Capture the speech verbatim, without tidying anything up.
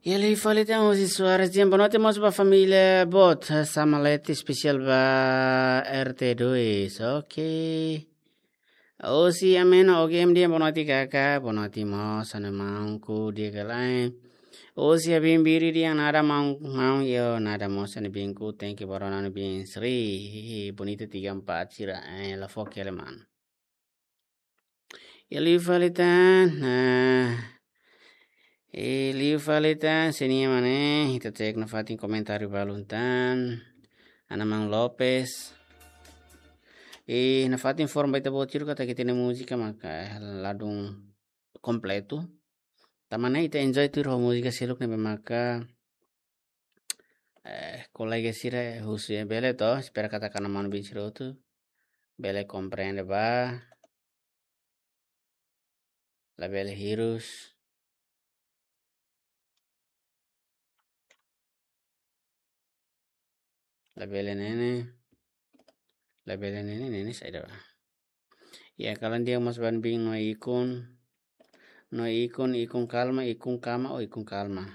Iha liu fali tan husi Suarez Dian, boa noite mós ba família boot, Samalete, espesiál ba R T dois, oke. Husi Ameno, oke, M D, boa noite kaka, boa noite mós, ha'u-nia maun ku di'ak ka lae. Husi Abimbiri Dian, nada maun, maun, yo, nada mós, ha'u-nia biin ku, thank you, barona, ha'u-nia biin, Sri, bonita tiga empat, sira, eh, la foke aleman. Iha liu fali tan, nah. Iha liu fali tan, senia mane, ita cek nafatin komentáriu balun tan. Ana Mang Lopes. I nafatin informa ba ita-boot sira katak ita-nia múzika maka ladún kompletu. Tanba ne'e ita enjoy tuir ho múzika seluk ne'ebé maka eh, kolega sira husu ya bele to, espera katak ha'u-nia maun-bin sira hotu bele komprende ba, labele hirus, labele nene, labele nene, nene saida ba. Ya, kalan dia mas ban bin no ikun, no ikun, ikun kalma, ikun kama, o ikun kalma.